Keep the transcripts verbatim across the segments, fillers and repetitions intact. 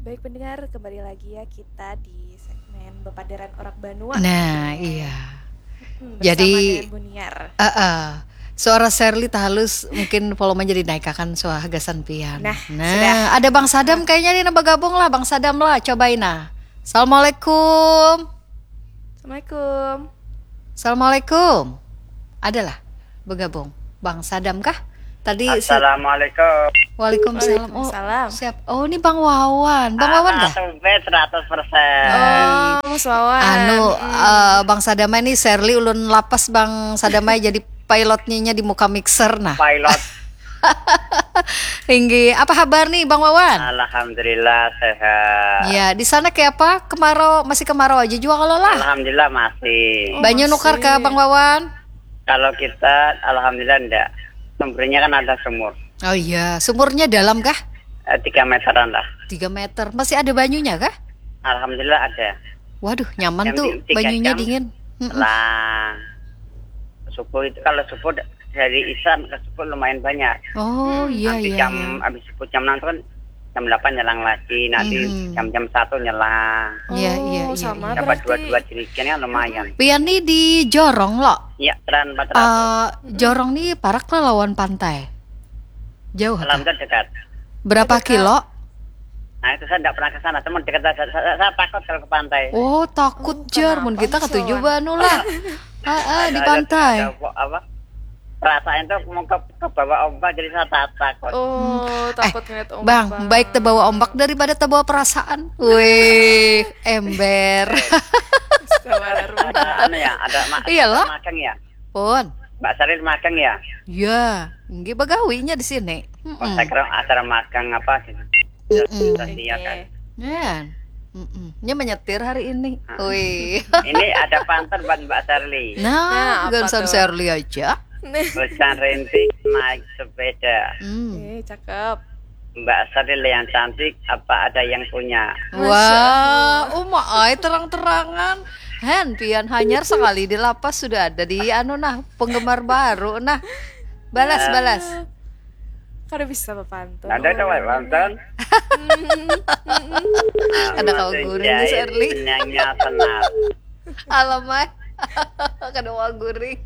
Baik pendengar, kembali lagi ya kita di segmen Bepaderan Orak Banua. Nah, iya. Hmm, Jadi, bersama dengan Buniar. eh, eh, suara Sherly tak halus, mungkin volumenya dinaikakan suara gasan pian. Nah, nah, sudah. Ada Bang Sadam kayaknya nih, nah, bergabung lah, Bang Sadam lah, cobain nah. Assalamualaikum. Assalamualaikum. Assalamualaikum. Adalah bergabung Bang Sadam kah? Tadi si- Assalamualaikum. Waalaikumsalam. Oh, Waalaikumsalam. Siap. Oh, ini Bang Wawan. Bang Wawan kah? Seratus persen. Oh, Mas Wawan. Anu, eh, Bang Sadama ini Sherly ulun lapas Bang Sadama jadi pilotnya di muka mixer nah. Pilot. Tinggi. Apa kabar nih Bang Wawan? Alhamdulillah sehat. Ya, di sana kayak apa? Kemarau, masih kemarau aja juga kalau lah. Alhamdulillah masih. Oh, Banyu masih. Nukar kah Bang Wawan? Kalau kita alhamdulillah enggak. Sumbernya kan ada sumur. Oh iya, sumurnya dalam kah? Eh, tiga meteran lah. Tiga meter. Masih ada banyunya kah? Alhamdulillah ada. Waduh, nyaman Yang tuh di- tiga banyunya jam. Dingin. Mm-mm. Lah, subuh itu kalau subuh dari Isya ke subuh lumayan banyak. Oh iya Habis iya. jam Iya. Habis subuh jam enam itu kan jam delapan nyelang lagi, nanti Mhm. jam-jam satu nyelang. Iya, iya, Oh, iya, sama iya. Dapat berarti. Dua-dua jerigen kan lumayan. Pian nih di Jorong lo. Ya, teran empat ratus. Eh, Jorong nih parak lah lawan pantai. Jauh kah? Alhamdulillah dekat. Berapa Dekat. Kilo? Nah, itu saya enggak pernah ke sana, cuma dekat saya, saya, saya takut kalau ke pantai. Oh, takut Oh, jar mun kenapa, kita Mas katuju Wawan? Banu lah. Heeh, di Ada- pantai. ada apa, apa? Perasaan itu mau ke, ke bawah ombak jadi saya tak takut. Oh, Eh, takut ngeliat ombak. Bang, baik terbawa ombak daripada terbawa perasaan. Wih, ember. Sabar. Ada anu ya, ada ma- Iya, ada loh. Magang ya. Pun. Mbak Saril magang ya. Ya, nggih begawinya di sini. Oh, Mm-mm. Saya kira acara magang apa sih? Mm-mm. Terus iya kan. Ya. Mm-mm. Nya menyetir hari ini. Ah. Wih. Ini ada pantun buat Mbak Sarli. Nah, Nah, apa gansan tuh? Sherly aja. Hujan rintik naik sepeda. Hmm. Eh, cakep. Mbak Saril yang cantik, apa ada yang punya? Wah, uma ai terang-terangan. Hen, pian hanyar sekali di lapas sudah ada di anu nah, penggemar baru nah. Balas, balas. Kada bisa bapantun. Ada ada wae pantun. Ada kau guring nih, Sarli. Nyanyi senar. Alamai. Kada mau guring.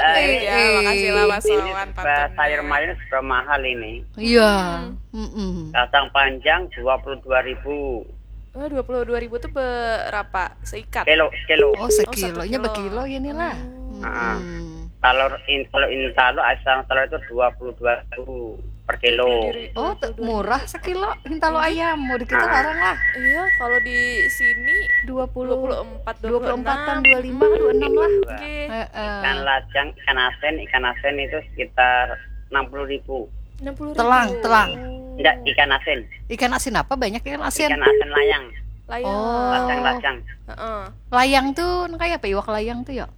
Eh, Iya, makasih lah, Mas ini Wawan, serba pantunnya. Sayur mayur serba mahal ini. Iya. Mm-mm. Kacang panjang dua puluh dua ribu. Oh, dua puluh dua ribu tuh berapa seikat? Kilo, kilo. Oh, sekilonya sekilo. Berkilo ini lah. Hmm. Ah. Mm-mm. Kalau in kalau intalu asal telur itu dua puluh dua ribu per kilo. Diri- Oh, te- murah sekilo intalu ayam. Mau di kita Ah. larang lah. Iya, kalau di sini Dua puluh, dua puluh empat, dua puluh empat dua puluh enam. Tan dua lima, dua enam lah. Oke. Heeh. Ikan lacang, ikan asin, ikan asin itu sekitar enam puluh ribu. Enam puluh ribu. Telang, telang. Enggak, ikan asin. Ikan asin apa banyak ikan asin? Ikan asin layang, Layang. Oh. lacang-lacang. Heeh. Layang tuh nang kayak apa iwak layang tuh ya?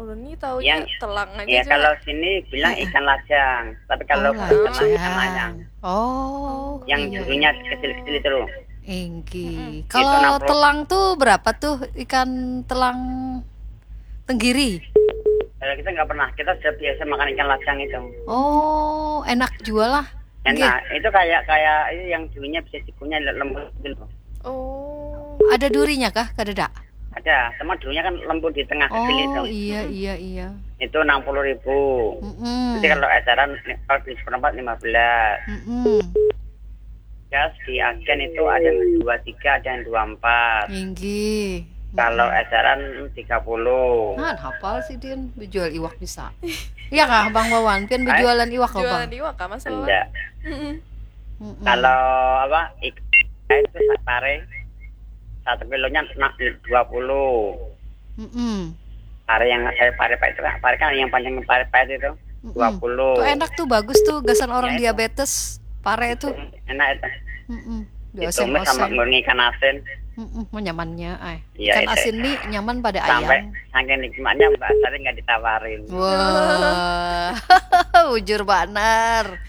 Ulun nih taunya Yang telang aja. Ya Cak. Kalau sini bilang ikan lacang, tapi kalau Oh, Kalimantan ikan lacang. layang. Oh, Yang iya. dulunya kecil-kecil itu loh. Inggi. Mm-mm. Kalau Itu enam puluh. Telang tuh berapa tuh ikan telang tenggiri? Kalau kita nggak pernah, kita sudah biasa makan ikan lacang itu. Oh, enak juga lah. Enak, itu kayak kayak itu yang dulunya bisa dikunyah lembut gitu. Oh. Ada durinya kah? Kadada? Ada, cuma dulunya kan lembut di tengah kecil itu. Oh iya iya iya. Itu enam puluh ribu. Mm-mm. Jadi kalau eceran, kalau di seperempat lima belas. Mm-mm. Gas di agen itu ada yang dua tiga, ada yang dua empat. Inggi. Kalau eceran tiga puluh. Nah, hafal sih Din, jual iwak bisa. Iya kah Bang Wawan? Pian berjualan iwak kah Bang? Jualan iwak kah, Mas Wawan? Enggak. Mm-mm. Mm-mm. Kalau apa, ikan itu pare satu kilonya nak dua puluh. Mm-mm. Pare yang saya pare pahit itu kan, pare kan yang panjang pare pahit itu Mm-mm. dua puluh. Tuh enak tuh, bagus tuh, gasan orang Ya, itu. Diabetes. Pare tuh. Enak itu. Mm-mm. Ditumis sama Diosen-osen. Ngurung ikan asin. Mm-mm. Mau nyamannya, ay. Iya, Ikan iya. Asin nih nyaman pada Sampai ayam. Saking nikmatnya Mbak Sari nggak ditawarin. Wah, bujur banar.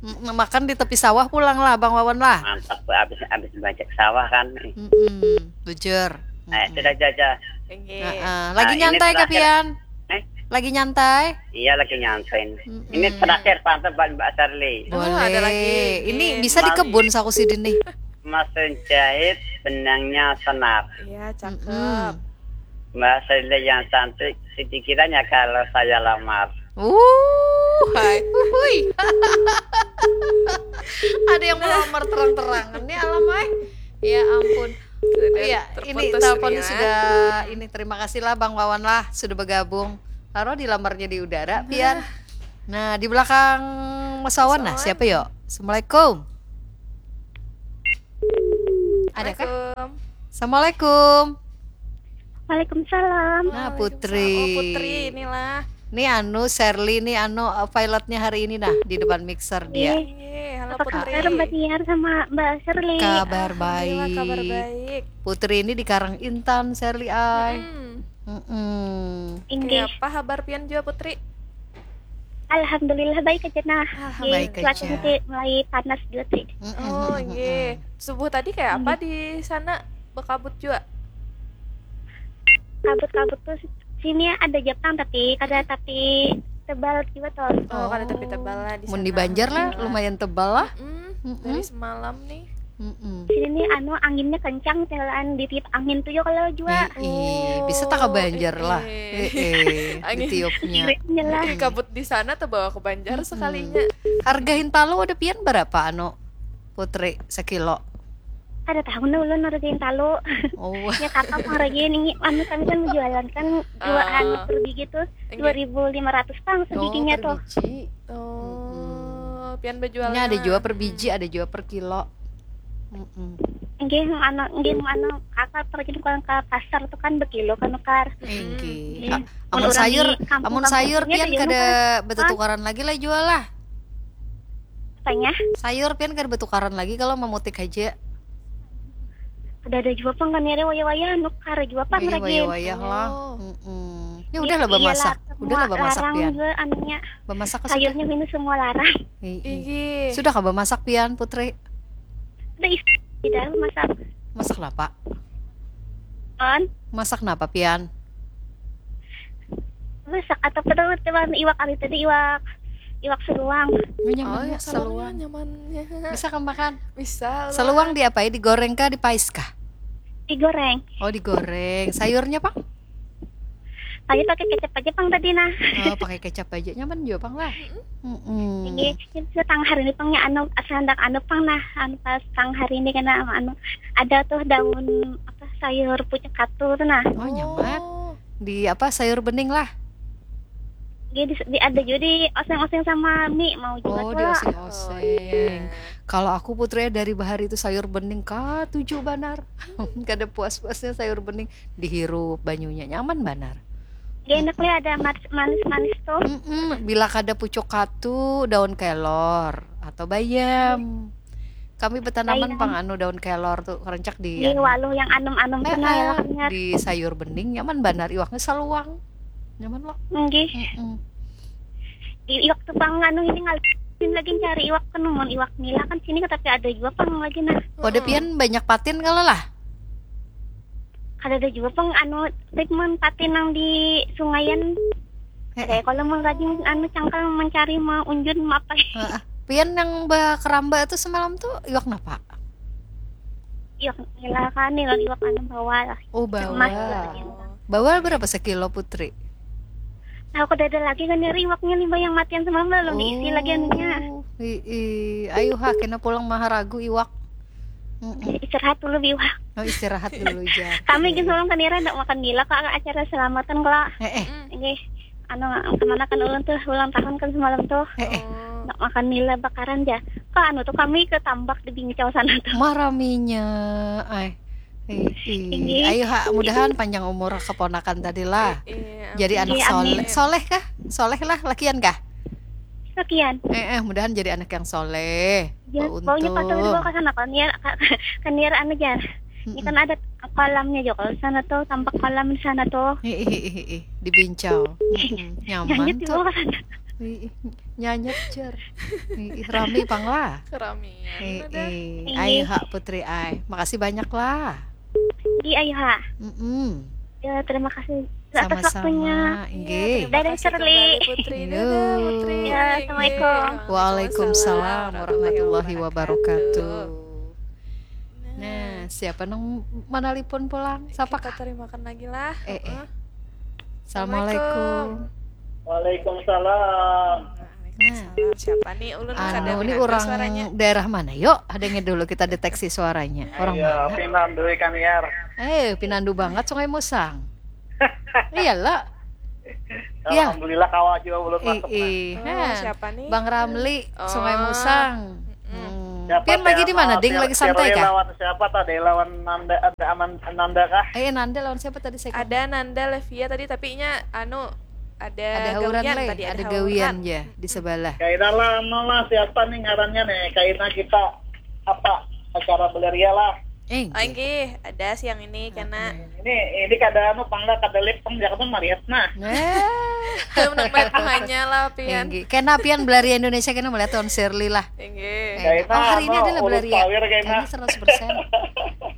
Mm, makan di tepi sawah pulang lah, Bang Wawan lah. Mantap, Bu. Habis habis bajak sawah kan. Mm-mm, bujur. Eh, Mm-mm. Sudah jajah. Oke. Heeh. Lagi Nah, ini nyantai kah terakhir. Pian? Eh, Lagi nyantai? Iya, lagi nyantai. Mm-mm. Ini terakhir, mantap, Mbak, Mbak Sherly. Boleh. Ah, ada lagi. Ini Ini. Bisa dikebun saku sidin nih. Mesin jahit, benangnya senar. Iya, cakep. Mbak Sherly yang cantik, sedikit aja kalau saya lamar. Uh, hai. Hui. Ada yang melamar terang-terangan nih, alam ai. Ya ampun. Sudah Iya, ini terputus telepon nih, ya. Sudah ini. Terima kasih lah Bang Wawan lah sudah bergabung. Taruh di lamarnya di udara, pian. Nah, di belakang Mas Wawan nah, Mas Wawan. Siapa yuk? Assalamualaikum. Ada kah? Assalamualaikum. Assalamualaikum. Waalaikumsalam. Nah, Waalaikumsalam. Putri. Oh, Putri inilah. Nih anu Sherly nih anu uh, pilotnya hari ini nah di depan mixer dia. Iya. Iya, halo Apa Putri. kabar Mbak Tiar sama Mbak Sherly? Kabar Alhamdulillah, baik. Kabar baik. Putri ini di Karang Intan, Sherly ai. Hmm. Mm-mm. Inggih. Kayak apa kabar pian juga Putri? Alhamdulillah baik aja nah. Alhamdulillah. Baik Cuacanya aja. sih mulai panas juga sih. Mm-mm, Oh, mm-mm, iya. mm-mm. Subuh tadi kayak apa di sana? Bekabut juga. Kabut-kabut tuh sini ada Jepang tapi kada tapi tebal juga toh. Oh, kada tapi tebal lah di Mun sana. di Banjar lah Alhamdulillah. Lumayan tebal lah. Hmm, Mm-mm. Dari semalam nih. Mm-mm. Sini nih anu anginnya kencang, jalan ditiup angin tuh juga kalau juga. Ih, ih, bisa tak ke Banjar lah. Ih. Eh, eh, Angin. Ditiupnya. Inilah. Ih, kabut di sana terbawa ke Banjar Mm-mm. sekalinya. Harga hintalu ada pian berapa anu Putri sekilo? Ada tahu nah ulun harga hintalu. Oh. Ya kakak pang harga ini anu kami kan menjualan kan dua Ah. anu per biji tuh Enggak. dua ribu lima ratus pang Oh, sebijinya per tuh. biji. Oh, pian berjual. Nya ada juga per biji, ada juga per kilo. Mm-mm. Enggih anu enggih anu kakak pergi ke, ke pasar tuh kan berkilo kan nukar. Inggih. Iya. A- Amun Mun urang sayur, di kampung-kampung amun sayur sini pian ada juga kada nukar. betutukaran lagi lah jual lah. Apanya? Sayur pian kada betukaran lagi kalau memutik aja. Kada ada juga pang kan ya wayah-wayah nukar juga pang Iya, lagi. wayah-wayah lah. Oh. Mm-mm. Ya udah lah bemasak. Udah lah bemasak larang pian. Juga anunya. Bemasak sudah. Sayurnya minus semua larang. Ih, ih. Ih. Sudah kah bemasak pian, Putri? Udah is tidak masak. Masak napa? On Masak napa pian? Masak atau kedua teman iwak kali tadi iwak iwak seluang. Oh, nyaman Oh, ya, ya seluang. Nyamannya. Bisa kah makan? Bisa lah. Seluang diapai? Digoreng kah, dipais kah? Digoreng. Oh, digoreng. Sayurnya pang? Tadi pakai kecap aja pang tadi nah. Oh, pakai kecap aja nyaman juga pang lah. Mm-mm. Ini ini setengah hari ini pangnya anu sendak anu pang nah anu pas setengah hari ini kena anu ada tuh daun apa sayur pucuk katu tuh nah. Oh, nyaman. Oh. Di apa sayur bening lah. Jadi di, di- ada juga di oseng-oseng sama mie mau juga Oh, tuh di lah. oseng-oseng. Oh, iya. Kalau aku Putri dari bahari itu sayur bening katuju banar. Kada puas-puasnya sayur bening dihirup banyunya nyaman banar. Dia enak lah ada manis manis manis tuh. Mm-mm, bila kada pucuk katu, daun kelor atau bayam. Kami bertanaman Bayam. Pang anu daun kelor tuh kerencak di Di anu. Waluh yang anom-anom tuh nah Heeh, eloknya. Di sayur bening nyaman banar iwaknya seluang. Nyaman loh. Enggih. Mm-mm. Di iwak tuh pang anu ini ngalih lagi cari iwak kan mun iwak nila kan sini tapi ada juga pang lagi nah. Wadah pian banyak patin kalau lah. Kada ada juga pang anu treatment patin nang di sungayan. Eh, Ada kalau mau rajin anu cangkal mencari mau unjun mau apa. Heeh. Pian yang bakaramba tuh semalam tuh iwak napa? Iwak nila kan nila iwak anu bawal. Oh, Emas bawal. katanya. Bawal berapa sekilo, Putri? Nah, aku ada lagi kan nyari iwaknya nih yang matian semalam belum diisi lagi anunya. Oh, ii. Ayo ha, kena pulang maharagu iwak. Mm-mm. Istirahat dulu biwak. Oh, istirahat dulu ja. Kami gitu orang kan nira ndak makan nila kok acara selamatan kalau Eh, eh. ini anu kemana kan ulun tuh ulang tahun kan semalam tuh Eh, eh. Oh. ndak makan nila bakaran ja kok anu tuh kami ke tambak di Bincau sana tuh. Maraminya. Ay. Ih, ih. Ini. Ayo ha, mudahan panjang umur keponakan tadi lah. Iya, Jadi amin. anak Iya, soleh. amin. Soleh kah? Soleh lah, lakian kah? Sekian. Eh, eh, mudahan jadi anak yang soleh. Ya, Pak baunya Untung. Pak Untung dibawa ke sana kan ya kan nira anu jar. Ini Mm-mm. Kan ada kolamnya juga kalau sana tuh tampak kolam di sana tuh. Ih, ih, ih, ih, di Bincau. Mm-mm. Nyaman Lanjut tuh. Dibawa ke sana. Ih, ih. Nyanyet jar. Ih, ih, rami pang lah. Keramian Ih, udah. ih. Ih. Ayo ha Putri ai. Makasih banyak lah. Iya ayo ha. Mm-mm. Ya terima kasih. Atas waktunya. Sama-sama, inggih. Dadah, Shirley. Putri. Yo. Dadah, Putri. Ya, assalamualaikum. Waalaikumsalam warahmatullahi wabarakatuh. Nah, siapa nang manalipun pulang? Sapa Kita kah? Terimakan lagi lah. Eh, eh. Heeh. Assalamualaikum. Waalaikumsalam. Waalaikumsalam. Siapa nih? Ulun kada Anu, ini mendengar orang suaranya. Daerah mana? Yuk, ada dulu kita deteksi suaranya. Orang Ya, mana? pinandu ikan liar. Eh, pinandu banget Sungai Musang. Iyalah. Iya. Alhamdulillah kawa juga belum Ih, masuk. Nah. ih. Oh, Nah, siapa nih? Bang Ramli, Oh. Sungai Musang. Hmm. Siapa Pian lagi sih, di mana, anu, Ding? Shir- Lagi santai Shirley kah? Lawan siapa tadi? Lawan Nanda, ada Aman Nanda kah? Eh, Nanda lawan siapa tadi saya? Ada Nanda Levia tadi, tapi nya anu ada, Ada hauran gawian leh, tadi, ada ada gawian hauran. Ya di sebelah. Kaina lah, anu lah, siapa nih ngarannya nih? Kaina kita apa acara belaria lah. Eh, Oh, inggih, ada siang ini kena. Ini ini kada anu pang lah, kada live pang, jangan mariat nah. Eh, Kalau menurut hanya lah pian. Inggih. Kena pian belaria Indonesia kena melihat tahun Shirley lah. Inggih. Eh, Kaina oh, hari ini anu, ada ulun belaria. power kaina. Ini seratus persen.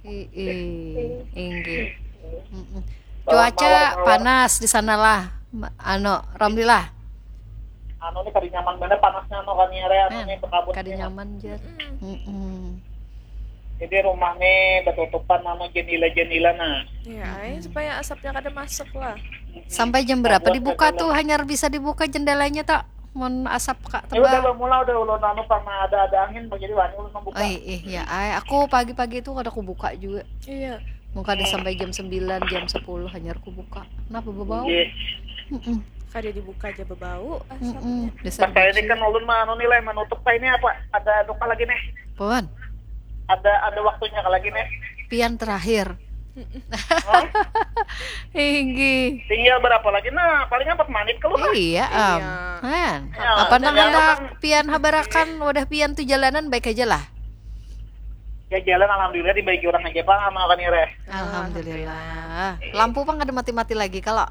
Ih, ih, inggih. Mm-mm. Mawar, Cuaca mawar, mawar. Panas di sana lah. Ma- Anu, Ramli lah. Anu nih kada nyaman banget panasnya anu kan ya, anu Nah, nih berkabut kada nih. Nyaman jar. Mm-mm. Jadi rumah nih batutupan anu jendela-jendela nah. Ya, ai, supaya asapnya kada masuk lah. Sampai jam berapa Buat dibuka jendela. Tuh? Hanyar bisa dibuka jendalanya tak? Mun asap kak Ini udah tebal. Bamula udah ulun anu pernah ada ada angin jadi wani ulun membuka. Oh, ih, ya, ai, aku pagi-pagi tuh kada aku buka juga. Iya. Mungkin ada sampai jam sembilan, jam sepuluh hanyar aku buka. Kenapa bebau? Iya. Mm-mm. Kada dibuka aja bebau Mm-mm. asapnya. Dasar Pas saya ini bucin. Kan ulun mah anu nilai menutup kah ini apa? Ada anu kah lagi nih? Puan, Ada ada waktunya kah lagi nih? pian terakhir. Hah? Inggih. Tinggal berapa lagi nah? Paling empat menit kalau nah. Iya, am. Iya. Kan. Ya, Apa nang tinggal hendak kan. pian habarakan wadah pian tuh jalanan baik aja lah. Ya jalan alhamdulillah dibagi orang aja pang sama kan ya Reh. Alhamdulillah. Lampu pang kada mati-mati lagi kalau.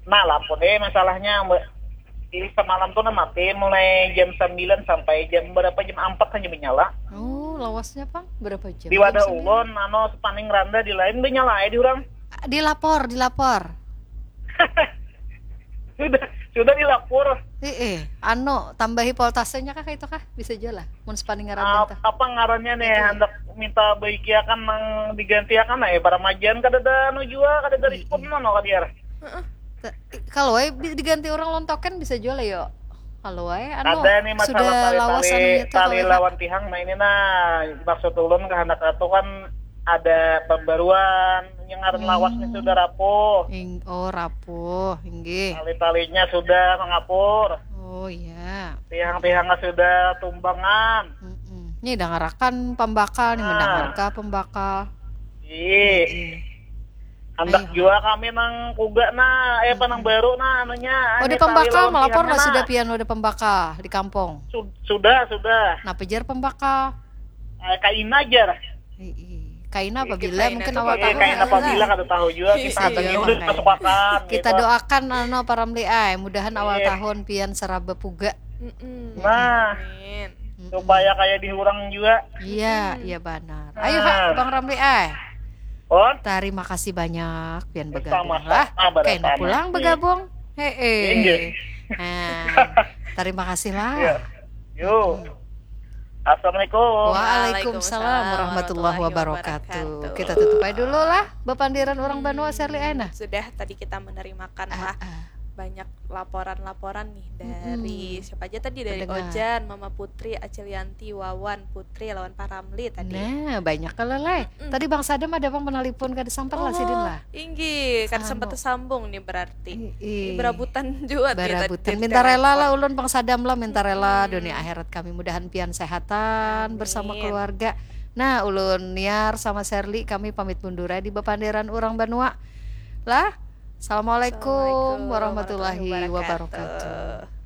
Nah lampu deh masalahnya Mbak. Ini semalam tuh nah mati mulai jam sembilan sampai jam berapa, jam empat saja menyala. Oh, lawasnya pang berapa jam? Di wadah Jam sembilan. Ulun anu sepaning randa di lain menyala aja di orang. Dilapor, dilapor. Sudah sudah dilapor. Eh, eh, anu tambahi voltasenya kah itu kah? Bisa aja lah. Mun sepaning Ap- randa tuh. Apa ngarannya nih Itu. Hendak minta baikiakan nang digantiakan nah ya para majian kada ada anu jua kada ada respon mana kadiar. Te- Kalau wae bi- diganti orang lontokan bisa aja lah yo. Kalau wae anu Ada nih masalah sudah lawas tali-tali anunya tuh tali kalau lawan tihang nah ini nah maksud ulun kehendak atuh kan ada pembaruan yang ngaran Hmm. lawas nih sudah rapuh. Ing- oh rapuh, inggih. Tali-talinya sudah mengapur. Oh iya. Tihang-tihangnya sudah tumbangan. Mm-mm. Nih dengarakan pembakal nih Ah. mendengarkan pembakal. Iya. Iya. Hendak Ayo. Jua kami nang kuga nah, eh apa nang baru nah anunya. Wadah Ini tali pembakal lawan melapor tihangnya lah sudah nah. Pian wadah pembakal di kampung. Su- sudah sudah. Napa jar pembakal? Eh, kaina jar. Ih, ih. Kaina apabila Kaina mungkin tuh awak Eh, tahu. kaina apabila kada tahu juga Iya, kita iya, adanya iya, udah makanya. kesepakan. Kita gitu. Doakan anu para Ramli ai, mudahan awal Iya. Tahun Pian seraba puga. Mm-mm. Nah, Amin. Mm-mm. Supaya kayak di orang juga. Iya, iya benar. Ayo ha, Nah. Bang Ramli ai. Oh, Terima kasih banyak Pian bergabung sama-sama lah. berdatang. Kaina pulang bergabung. Heeh. Inggih. Nah, terima kasih lah. Iya. Yuk. Assalamualaikum. Waalaikumsalam warahmatullahi wabarakatuh. Kita tutup aja dulu lah bepandiran orang Banua Serli Aina. Sudah tadi kita menerimakan Ah, lah ah. Banyak laporan-laporan nih dari Mm-mm. Siapa aja tadi, dari Pendengar. Ojan, Mama Putri, Acil Yanti, Wawan, Putri, lawan Pak Ramli tadi. Nah, banyak kalau lah. Tadi Bang Sadam ada pang penelpon kada sampat lah sidin lah. Inggih, kada Anu. Sempat tersambung nih berarti. Ih, Berabutan juga nih Barabutan. tadi Minta rela telepon. Lah ulun Bang Sadam lah, minta rela dunia akhirat kami, mudahan pian sehatan bersama Amin. Keluarga. Nah, ulun Niar sama Serli kami pamit mundur di bepandiran urang Banua. Lah, Assalamualaikum warahmatullahi wabarakatuh.